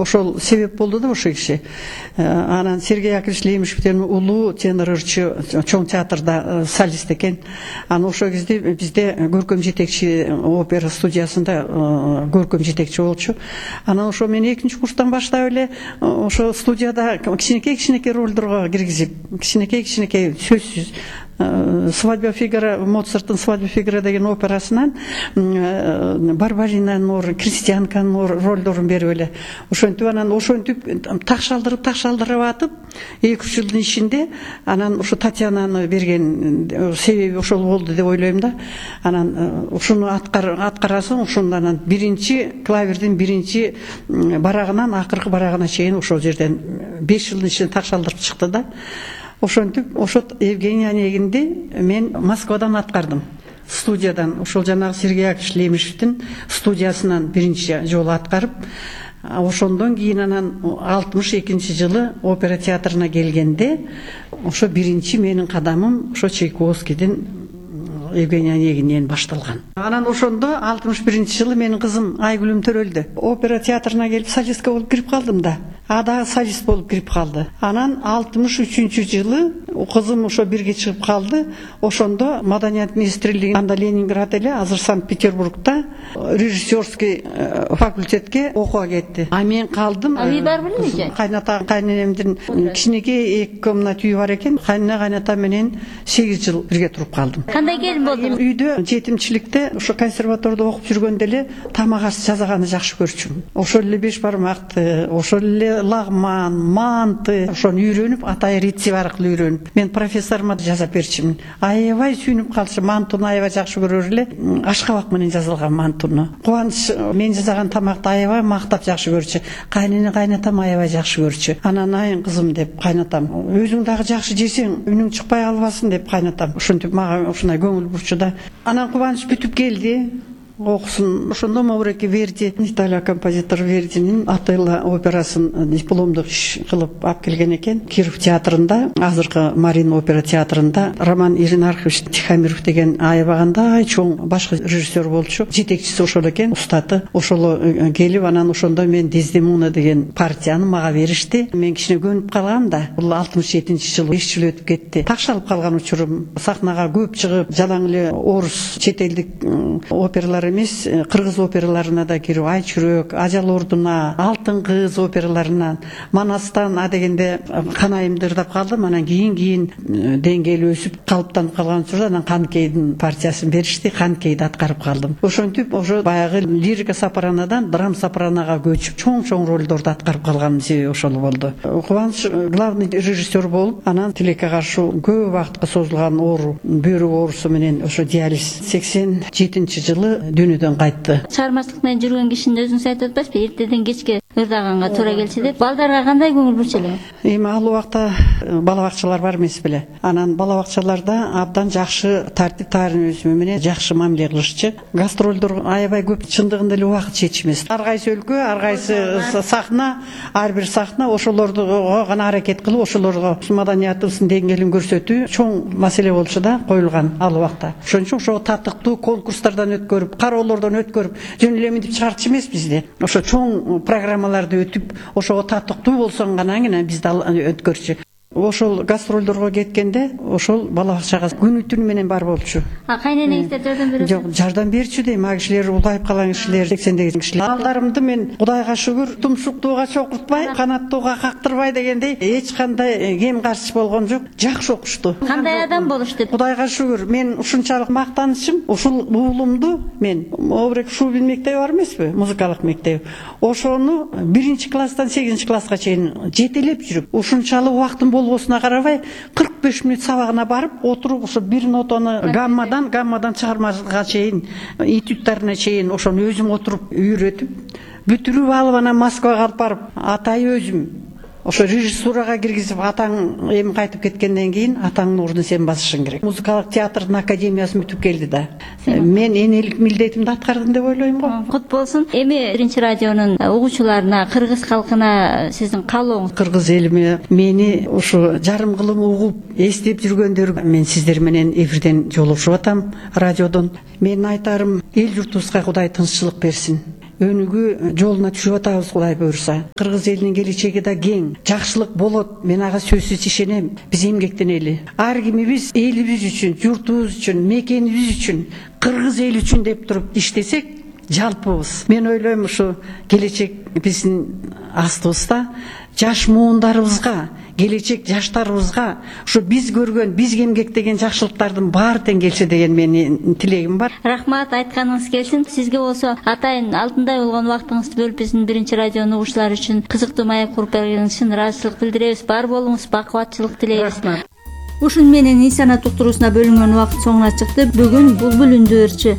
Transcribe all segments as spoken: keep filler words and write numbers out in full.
ошол себеп болду да ошол киши. Анан Сергей Яковлевич Лемешевден улуу тенор ырчы чоң театрда солист экен. Анан ошол кезде бизде көркөм жетекчи опера студиясында көркөм жетекчи болчу. Анан ошо мен экинчи курстан баштап эле ошо студияда кичинекей кичинекей ролдорго киргизип, кичинекей кичинекей сөзсүз «Свадьба Фигаро», Моцарттын «Свадьба Фигаро» деген операсынан Барбаринанын ордун, Крестьянканын ролдорун берип эле ошентип анан ошентип такшалдырып такшалдырып атып эки үч жылдын ичинде анан ошо Татьянаны берген себеби ошол болду деп ойлойм да. Анан ушуну аткарасың, ушунда анан биринчи клавердин биринчи барагынан акыркы барагына чейин ошол жерден беш жылдын ичинде такшалдырып чыкты да. Ошентип ошо Евгений Онегинди мен Москвадан аткардым. Студиядан, ошол жанагы Сергей Яковлевич Лемешевдин студиясынан биринчи жолу аткарып, ошондон кийин анан алтымыш экинчи жылы опера театрына келгенде ошо биринчи менин кадамым ошо Чайковскийдин Евгений Онегининен башталган. Анан ошондо алтымыш биринчи жылы менин кызым Айгүлүм Төрөлдү. Опера театрына келип солистка болуп кирип калдым да. А да солист болуп кирип калды. Анан алтымыш үчүнчү жылы кызым ошо бирге чыгып калды. Ошондо Маданият министрлиги анда Ленинград эле, азыр Санкт-Петербургда режиссерский факультетке окууга кетти. А мен калдым. А үй бар белең? Кайната кайненемдин кичинекей эки комнат үйү бар экен. Кайнына кайната менен сегиз жыл бирге туруп калдым. Кандай келин болдуң? Үйдө жетимчиликте ошо консерваторияда окуп жүргөндө эле тамак аш жасаганды жакшы көрчүмүн. Ошол эле беш бармакты, ошол эле лагман, манты, ошону үйрөнүп, атай рецепт аркылуу үйрөнүп, мен профессорума жасап берчимин. Аябай сүйүнүп калчу, мантуну аябай жакшы көрөр эле, ашкабак менен жасалган мантуну. Кубаныч мен жасаган тамакты аябай мактап жакшы көрчү. Кайнене кайнатам аябай жакшы көрчү. Анан айын кызым деп кайнатам. Өзүң дагы жакшы жесең, үнүң чыкпай калбасын деп кайнатам. Ошентип мага ушундай көңүл бурчу да. Анан Кубаныч бүтүп келди. Окусун. Ошондо Мавреки Верди, Италия композитор Вердинин Отелло операсын дипломдук иш кылып алып келген экен. Киров театрында, азыркы Марин опера театрында Роман Иринархович Тихомиров деген аябагандай чоң башкы режиссер болчу. Жетекчиси ошол экен, устаты. Ошол келип, анан ошондо мен Дездемона деген партияны мага беришти. Мен кичине көнүп калгам да. Бул алтымыш жетинчи жыл, беш жыл өтүп кетти. Такшалып калган учурум. Сахнага көп чыгып, жалаң эле орус, чет элдик опералар эмес, кыргыз операларына да кирип, Ай чүрөк, Ажал ордуна, Алтын кыз операларынан, Манастан а дегенде канайымды ырдап калдым. Анан кийин-кийин деңгээли өсүп, калыптанып калган учурда анан Канкейдин партиясын беришти, Канкейди аткарып калдым. Ошентип, ошо баягы лирика сопранодан драм сопранога көчүп, чоң-чоң ролдорду аткарып калганым себеби ошол болду. Кубаныч главный режиссер болуп, анан тилекке каршы көп убакытка созулган оору, бөйрөк оорусу менен ошо диализ сексен жетинчи жылы дүйнөдөн кайтты. Чыгармачылык менен жүргөн кишинин өзүңүз айтып атпайсызбы? Эртеден кечке ырдаганга туура келчү деп. Балдарга кандай көңүл бурчу эле? Эми ал убакта бала бакчалар бар эмес беле. Анан бала бакчаларда абдан жакшы тартип таарыныбы менен жакшы мамиле кылышчу. Гастролдор аябай көп, чындыгында эле убакыт жетишмес. Ар кайсы өлкө, ар кайсы сахна, ар бир сахна ошолорду гана аракет кылып, ошолорго маданиятыбыздын деңгээлин көрсөтүү чоң маселе болчу да, коюлган ал убакта. Ошон үчүн ошо татыктуу конкурстардан өткөрүп, кароолордон өткөрүп, жөн эле мынтип чыгартчу эмеспиз да. Ошо чоң программаларды өтүп, ошого татыктуу болсоң гана анан бизди өткөрчү. Ошол гастролдорго кеткенде ошол бала бакчага күнү түнү менен бар болчу. А кайненеңиздер жардам берет? Жок, жардам берчү дейм. А кишилер улайып калган кишилер, сексендеги кишилер. Балдарымды мен Кудайга шүгүр, тумшуктууга чокуртпай, канаттууга кактырбай дегендей эч кандай кем каршы болгон жок. Жакшы окушту. Кандай адам болушту? Кудайга шүгүр, мен ушунчалык мактанычым, ушул уулумду мен Маврек Шубин мектеби бар эмеспи, музыкалык мектеп. Ошону биринчи класстан сегизинчи класска чейин жетелеп жүрүп, ушунчалык убактым болбосуна карабай кырк беш мүнөт сабагына барып отуруп, ошо бир нотаны гаммадан гаммадан чыгармага чейин, этюдтарына чейин ошону өзүм отуруп үйрөтүп, бүтүрүп алып анан Москвага алып барып, атай өзүм ошо режиссурага киргизип, атаң эми кайтып кеткенден кийин атаңдын ордун сен басышың керек. Музыкалык театрдын академиясын бүтүп келди да. Мен энелик милдетимди аткардым деп ойлойм го. Кут болсун. Эми биринчи радионун угуучуларына, кыргыз калкына сиздин каалооңуз? Кыргыз элиме мени ушу жарым кылым угуп, эстеп жүргөндөр, мен сиздер менен эфирден жолугушуп атам радиодон. Менин айтарым, эл журтубузга Кудай тынччылык берсин. өнүгүү жолуна түшүп атабыз, Кудай буюрса. Кыргыз элинин келечеги да кең, жакшылык болот. Мен ага сөзсүз ишенем. Биз эмгектенели. Ар кимибиз элибиз үчүн, журтубуз үчүн, мекенибиз үчүн, кыргыз эли үчүн деп туруп иштесек, жалпыбыз. Мен ойлойм, ушу келечек биздин астыбызда жаш муундарыбызга, келечек жаштарыбызга ушу биз көргөн, биз эмгектеген жакшылыктардын баары тең келсе деген менин тилегим бар. Рахмат, айтканыңыз келсин. Сизге болсо атайын алтындай болгон убактыңызды бөлүп биздин биринчи радионун угуучулары үчүн кызыктуу маек куруп бергениңиз үчүн ыраазычылык билдиребиз. Бар болуңуз, бакубатчылык тилейбиз. Рахмат. Ушун менен инсанат уктуруусуна бөлүнгөн убакыт соңуна чыкты. Бүгүн Булбул үндү ырчы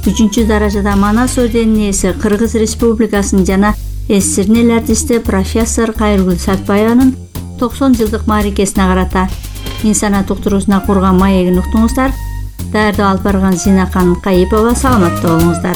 үчүнчү даражада Манас орденинин ээси, Кыргыз Республикасынын жана СССРдин эл артисти профессор Кайыргүл Сатпаеванын токсон жылдык мааракесине карата инсанат уктуруусуна курган маегин уктуңуздар. Даярдап алып барган Зинакан Кайыпова. Саламатта болуңуздар.